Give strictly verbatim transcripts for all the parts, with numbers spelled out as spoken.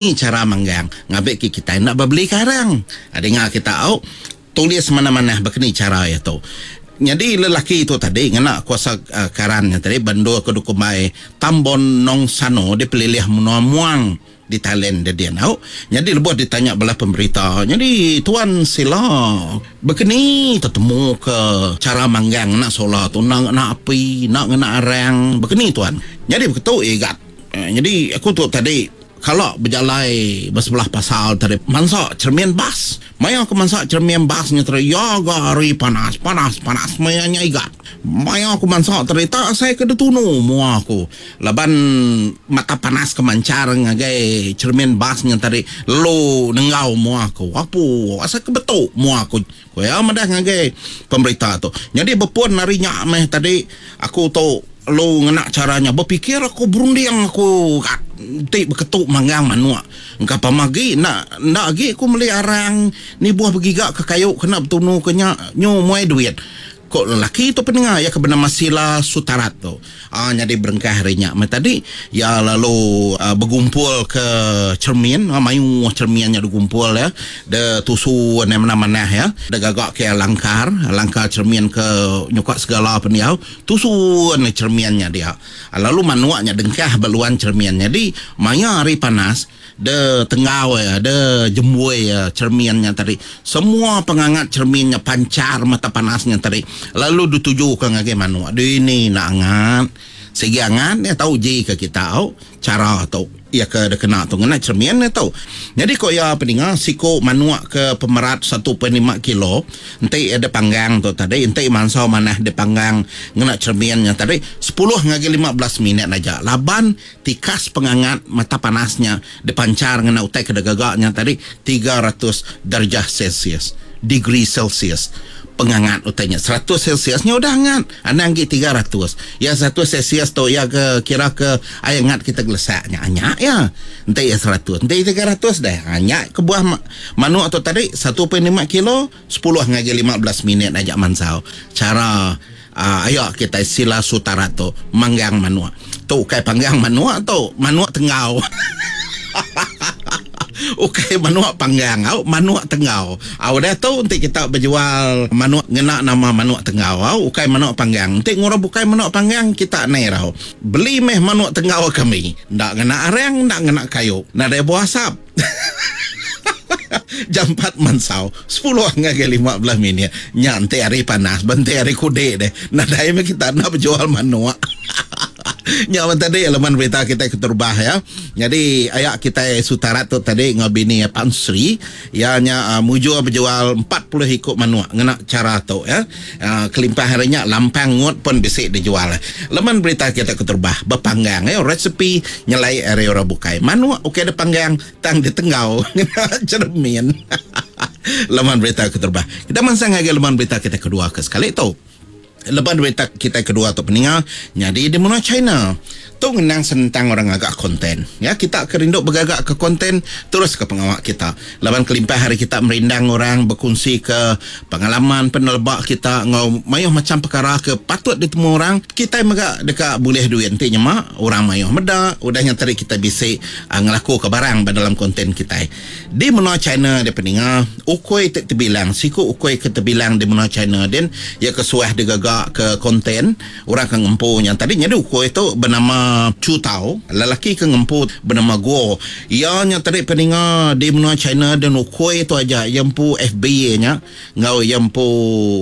Cara manggang ngambi ke kita nak beli karang. Dengar kita au tulis mana-mana begini cara itu. Jadi lelaki itu tadi ngena kuasa uh, karannya tadi bendo ke dukumai Tambon Nong Sano di pelilih menua Muang di Thailand dia dia nau. Jadi lebuh ditanya belah pemberita. Jadi tuan sila begini tetemu ke cara manggang nak solar tu nak nak api nak ngena arang begini tuan. Jadi begitu igat. Jadi aku tu tadi kalau berjalai bersebelah pasal tadi mansak cermin bas. Maya aku mansak cermin basnya tadi ya hari panas panas panas maya nya igat. Maya aku mansak tadi tak saya kena tunu mua aku. Laban mata panas kemancar ngagai cermin basnya tadi lu nenggau mua aku. Apu asal kebetuk mua aku. Ko ya madah ngagai pemberita tu. Jadi berpun hari nyak meh tadi aku tu lu ngena caranya berfikir aku berunding aku kat tik berketuk manggang manuak. Engkau pamagi nak nak agi aku beli arang ni buah bergigak ke kayu kena bertunu ke nyak nyu muai duit. Kok lelaki tu pendengar ya bernama Sila Sutarat tu. Ah jadi berengkah hari nya. Tadi ya lalu uh, bergumpul ke cermin, ah, mayu cerminnya digumpul ya. De tusu mana-mana ya. De gagak ke langkar, langkar cermin ke nyokak segala peniau, tusu ni cerminnya dia. Lalu manuaknya dengkah beluan cerminnya di maya hari panas de tenggau ya, de jembui ya cerminnya tadi. Semua pengangat cerminnya pancar mata panasnya tadi. Lalu dituju ke ngagai manuk. Dia ni nak angat. Segi angat dia tahu je ke kita tahu cara tu ya ke dia kena tu ngena cermin dia tahu. Jadi kok ya peninga siko manuak ke pemerat satu perpuluhan lima kilo enti ada panggang tu tadi enti mansau manah dia panggang ngena cerminnya tadi sepuluh ngagai lima belas minit aja. Laban tikas pengangat mata panasnya dipancar ngena utai ke gagaknya tadi tiga ratus darjah Celsius, degree Celsius. Pengangat utainya seratus Celsiusnya udah hangat. Anda anggi tiga ratus. Ya seratus Celsius tu ya ke kira ke air hangat kita gelesaknya anyak ya. Nanti ya seratus. Nanti tiga ratus dah. Anyak ke buah manuk tu tadi satu perpuluhan lima kilo sepuluh ngaji lima belas minit ajak mansau. Cara uh, ayo kita Sila Sutarat tu manggang manuk. Tu kai panggang manuk tu manuk tenggau. Okey, manuk panggang au, manuk tenggau. Au dah tu nanti kita berjual manuk ngena nama manuk tenggau au, ukai manuk panggang. Nanti ngurang bukai manuk panggang kita nei rau. Beli meh manuk tenggau kami. Ndak ngena arang, ndak ngena kayu. Nadai buah asap. Jam empat mansau, sepuluh ngagai lima belas minit. Nyantai hari panas, bentai hari kude deh. Nadai meh kita nak berjual manuk. Nyawa tadi elemen berita kita keterbah ya. Jadi ayak kita Sutarat tu tadi ngabini Pansri ya nya uh, mujur berjual empat puluh ikut manuk ngena cara tu ya. Uh, kelimpah harinya lampang ngut pun bisa dijual. Elemen berita kita keterbah berpanggang ya resepi nyelai area orang bukai. Manuk okey ada panggang tang di tenggau ngena cermin. Elemen berita keterbah. Kita mansang lagi elemen berita kita kedua ke sekali tu. Lepas berita kita kedua tu peningal jadi di mana China tu ngenang sentang orang agak konten ya kita kerinduk bergagak ke konten terus ke pengawak kita lawan kelimpah hari kita merindang orang berkongsi ke pengalaman penelbak kita ngau mayuh macam perkara ke patut ditemu orang kita megak dekat boleh duit nanti nyemak orang mayuh medak udahnya tadi kita bisik uh, ngelaku ke barang dalam konten kita di mana China dia peningal ukoi tak terbilang siku ukoi ke terbilang di mana China dan ya kesuah digagak ke konten orang ke ngempu yang tadi jadi ukoi tu bernama Chu Tao, lelaki ke ngempu bernama Guo. Ia nya tadi peninga di menua China dan ukoi tu aja yang pu F B A nya ngau yang pu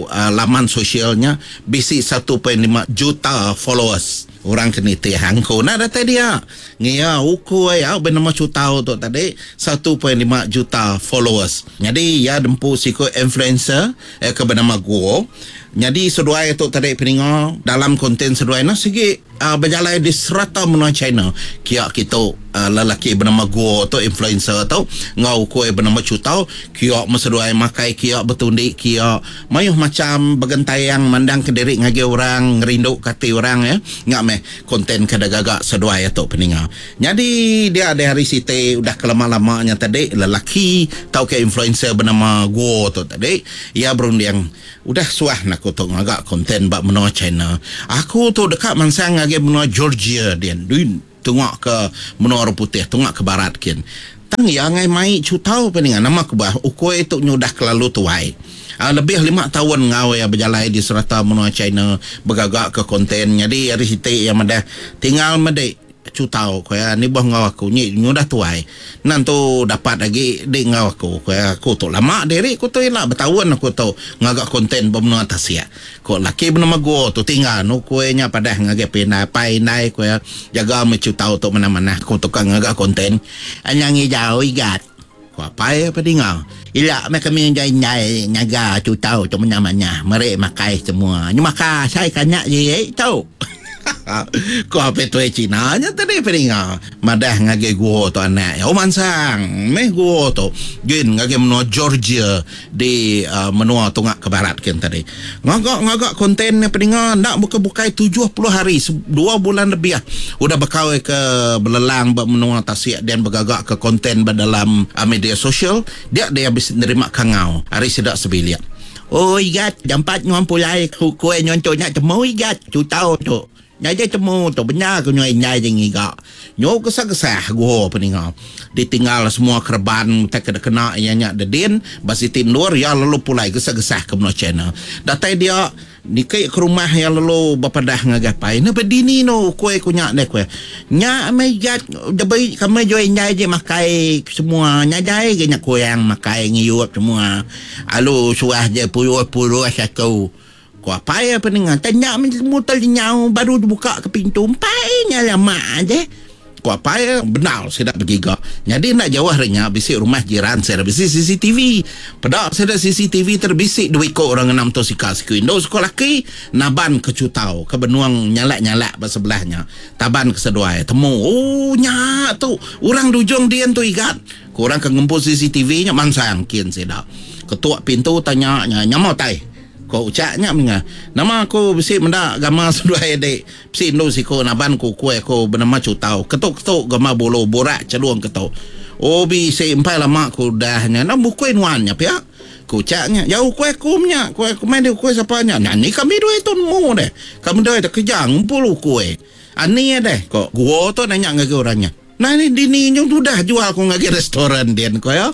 uh, laman sosialnya bisi satu perpuluhan lima juta followers. Orang kena teh hangko nak datang dia. Ngia ukoi ya bernama Chu Tao tu tadi satu perpuluhan lima juta followers. Jadi ia dempu siko influencer eh, ke bernama Guo. Jadi seduai tu tadi peninga dalam konten seduai na segi uh, berjalan di serata menua China. Kiak kita uh, lelaki bernama Guo tu influencer tu ngau kue bernama Chu Tao kiak meseduai makai kiak bertundik kiak mayuh macam bergentayang mandang kediri ngagi orang ngerindu kati orang ya. Ngak meh konten kada gagak seduai tu peninga. Jadi dia ada hari site udah kelama-lamanya tadi lelaki tau ke influencer bernama Guo tu tadi ia berunding udah suah nak aku tu ngagak konten bab menua China. Aku tu dekat mansang ngagi menua Georgia dia. Duin tengok ke menua orang putih, tengok ke barat kin. Tang iya ngai mai chutau peninga nama kebuah ukui tu nyudah kelalu tuai. Uh, lebih lima tahun ngau ya berjalai di serata menua China bergagak ke konten. Jadi hari siti yang madah tinggal medik cutau ko ya ni boh ngau aku ni nyudah tuai. Nan tu dapat lagi di ngau aku ko ya aku tu lama diri ku tu ila bertahun aku tu ngagak konten bermenua tasia. Ko laki bernama gua tu tinggal nu kuenya padah ngagai pinai pai nai ko ya jaga me cutau tu mana-mana aku tu kan ngagak konten. Anyangi jauh igat. Ko apai apa dengar. Ila me kami jai nyai nyaga cutau tu mana-mana merek makai semua. Nyu maka saya kanyak je tu. Ko apa tu Cina nya tadi peninga. Madah ngagai gua tu anak. Oh mansang meh gua tu. Gin ngagai menua Georgia di uh, menua tungak ke barat kan tadi. Ngagak-ngagak konten ni peninga nak buka-bukai tujuh puluh hari dua bulan lebih ah. Udah bekau ke belelang ba menua tasik dan bergagak ke konten ba dalam uh, media sosial, dia dia habis nerima kangau hari sedak sebilik. Oh igat jampat nyuam pulai ku nyuam tu nak temu igat cutau tu. Nyai temu tu benar ku nyai nyai je ngiga. Nyo kesah-kesah gua peninga. Ditinggal semua kerban tak kena kena ia nyak dedin basi tindur ya lalu pulai kesah-kesah ke menua China. Datai dia nikai ke rumah ya lalu berpadah ngagapai. Ne bedini no kue ku nyak deh kue. Nyak mai gat debai kami joi nyai je makai semua. Nyai jai ke nyak kue yang makai ngiyup semua. Alu suah je puluh-puluh satu. Ko apa ya peningan tanya mutal nyau baru buka ke pintu empai nya lama aje. Ko apa ya benar saya nak bergiga. Jadi nak jauh harinya bisik rumah jiran saya bisik C C T V. Pada saya C C T V terbisik dua ikut orang enam tu sika siku indo sekolah ki naban ke cutau ke benuang nyalak-nyalak bersebelahnya. Taban ke seduai temu oh nya tu orang dujung dia tu igat. Ko orang ke ngumpul C C T V nya mansang kin saya dah. Ketuk pintu tanya nya nyamau tai. Ko ucaknya menga. Nama aku bisi mendak gama seduai adik. Bisi indu siko naban ku kue ku bernama cutau. Ketuk-ketuk gama bulu borak celuang ketuk. Oh bisi empai lama ku dahnya. Nama kue nuannya pihak. Ku ucaknya jauh kue ku nya. Kue ku main di kue siapanya. Nah ni kami dua itu mu deh. Kami dua itu kerja ngumpul kue. Ani deh. Ko gua tu nanya ngagi orangnya. Nah ni dini nyung tu dah jual ku ngagi restoran dia ko ya.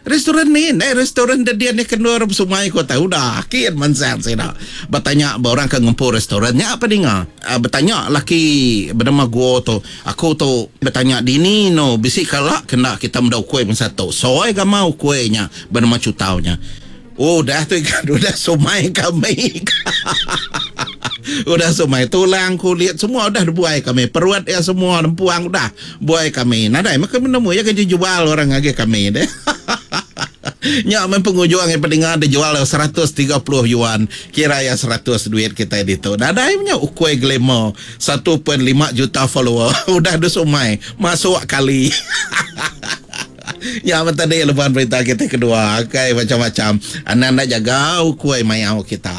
Restoran ni, eh restoran dia ni kena orang sungai kota udah akhir mansang saya dah. Bertanya orang ke ngumpul restorannya apa dengar? Uh, bertanya laki bernama gua tu, aku tu bertanya dini no bisik kalak kena kita mendau kuih pun satu. Soai gamau kuihnya bernama cutaunya. Oh dah tu ikan udah sumai kami. Udah sumai tulang kulit semua udah dibuai kami. Peruat ya semua nempuang udah buai kami. Nadai maka menemu ya kerja jual orang lagi kami deh. Nyak men pengujuang yang pendengar dia jual seratus tiga puluh yuan. Kira ya seratus duit kita itu. Nadai punya ukui glamour satu perpuluhan lima juta follower. Udah ada sumai masuk kali. Ya tadi lebaran berita kita kedua kai macam-macam. Anak-anak jaga ukui mayau kita.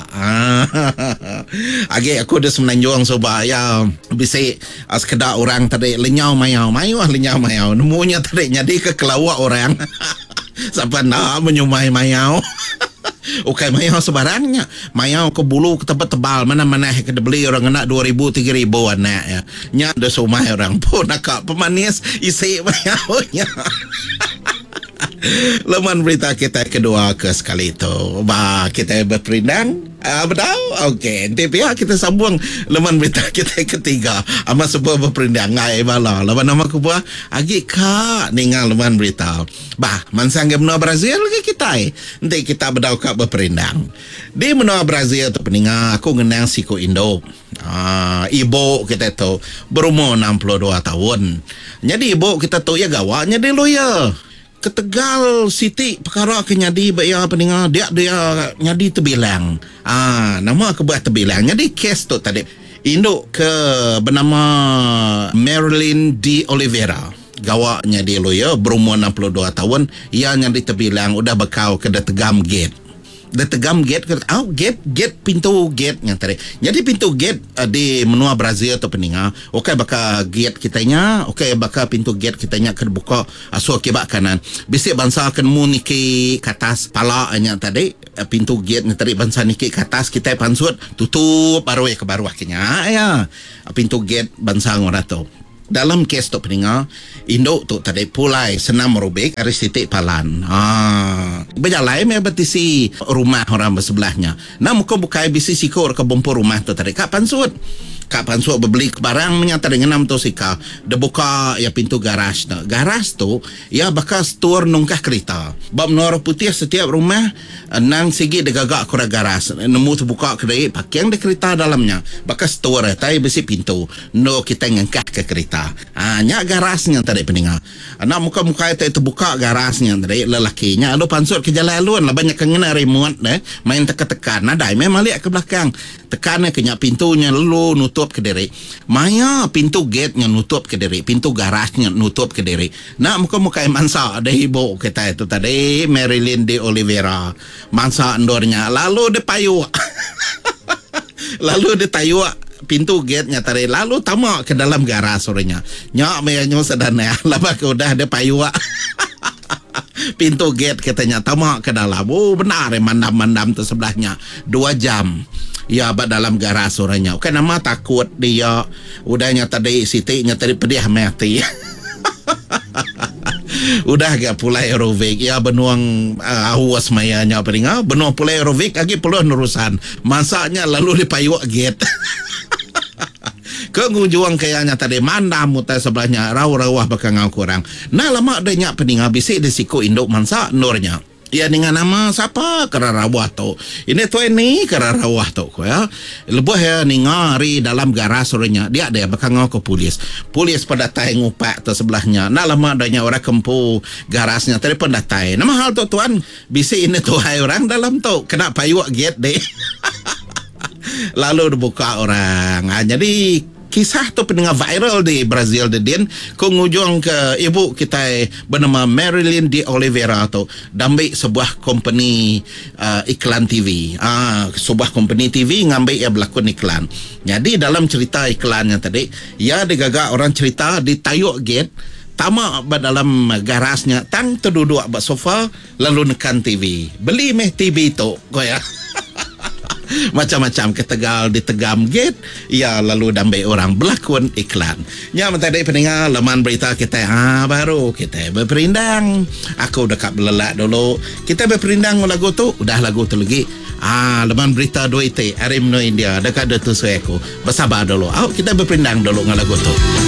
Agi aku dah semenanjung soba ya bisi sekedar orang tadi lenyau mayau, mayau lenyau mayau. Nemunya tadi jadi ke kelawak orang. Sampai nak menyumai mayau. Ukai mayau sebarangnya. Mayau ke bulu ke tempat tebal mana-mana ke beli orang kena dua ribu tiga ribu anak ya. Nya dah sumai orang pun nak pemanis isi mayaunya. Leman berita kita kedua ke sekali itu. Bah, kita berperindang. Uh, betul? Okey, nanti pihak kita sambung leman berita kita ketiga. Amat sebuah berperindang ngai bala. Leman nama aku buah agi ka ningal leman berita. Bah, mansang ke menua Brazil ke kita? Nanti kita bedau ka berperindang. Di menua Brazil tu peninga aku ngenang siku Indo. Ah, ibu kita tu berumur enam puluh dua tahun. Jadi ibu kita tu ya gawaknya di lawyer. Ketegal Siti perkara ke nyadi baya peninga dia dia nyadi terbilang. Ah, nama aku buat terbilang. Jadi kes tu tadi induk ke bernama Marilyn D Oliveira. Gawaknya di lawyer berumur enam puluh dua tahun, ia nyadi terbilang udah bekau ke tegam gate. Dia tegam gate ke oh, gate gate pintu gate yang tadi. Jadi pintu gate uh, di menua Brazil atau peninga, okey baka gate kitanya, okey baka pintu gate kitanya ke buka asuh kibak kanan. Bisik bangsa akan mu niki ke atas pala nya tadi, uh, pintu gate nya tadi bangsa niki ke atas kita pansut tutup baru ya ke baru akhirnya ya. Pintu gate bangsa ngora tu. Dalam kes tu peninga, indu tu tadi pulai senam aerobik ari siti palan. Ah, bejalai meh betisi rumah orang bersebelahnya. Nah muka bukai bisi siku ke bumpu rumah tu tadi kak pansut. Kak pansut bebeli barang nya tadi ngenam tu sika. Dia buka ya pintu garaj tu. Garaj tu ya bakal store nungkah kereta. Bab menua putih setiap rumah nang sigi digagak kurang garaj. Nemu terbuka kedai parking di kereta dalamnya. Bakal store tai bisi pintu. No kita ngangkah ke kereta. Ah, nya garasnya tadi peninga. Anak muka-muka itu terbuka garasnya tadi lelakinya lalu pansut ke jalan alun lah banyak kena remote deh main teka-tekan nadai memang lihat ke belakang tekan ke nya pintunya lalu nutup ke diri. Maya pintu gate-nya nutup ke diri, pintu garasnya nutup ke diri. Nak muka-muka mansa ada ibu kita itu tadi Marilyn de Oliveira. Mansa endornya lalu dia payuk. Lalu dia tayuk pintu gate-nya tadi lalu tamak ke dalam garas orangnya. Nyak me nyu sedana lama ke udah dia payuk. Pintu gate katanya tamak ke dalam. Oh benar eh mandam-mandam tu sebelahnya dua jam. Ya ba dalam garas orangnya. Bukan nama takut dia udahnya tadi siti-nya tadi pedih mati. Udah gak pulai aerobik ya benuang uh, awas mayanya peninga benuang pulai aerobik lagi perlu nerusan masaknya lalu dipayuk gate. Ke ngujuang kayaknya tadi mandam mutai sebelahnya rau-rawah bakal ngau kurang. Nah lama dia nyak peninga bisik di siku induk mansa nurnya. Ya dengan nama siapa kera rawah tu. Ini tu ini kera rawah tu ko ya. Lebuh ya ninga hari dalam garas orangnya dia ada bakal ngau ke polis. Polis pada tai ngupak tu sebelahnya. Nah lama adanya orang kempu garasnya telefon datai. Nama hal tu tuan bisik ini tuhai orang dalam tu kena payuk gate deh. Lalu dibuka orang. Ha, jadi kisah tu pendengar viral di Brazil di din ko ngujung ke ibu kita bernama Marilyn de Oliveira tu dambi sebuah company uh, iklan T V. Ah, sebuah company T V ngambil ia berlakon iklan. Jadi dalam cerita iklannya tadi, ia digagak orang cerita di tayuk gate tamak dalam garasnya tang terduduk bak sofa lalu nekan T V. Beli meh T V tu ko ya. Macam-macam ketegal ditegam gate ya lalu dambe orang berlakon iklan. Nya tadi pendengar laman berita kita ah baru kita berperindang. Aku dekat belelak dulu. Kita berperindang lagu tu, udah lagu tu lagi. Ah laman berita dua it hari menua India dekat ada tu aku. Bersabar dulu. Au kita berperindang dulu dengan lagu tu.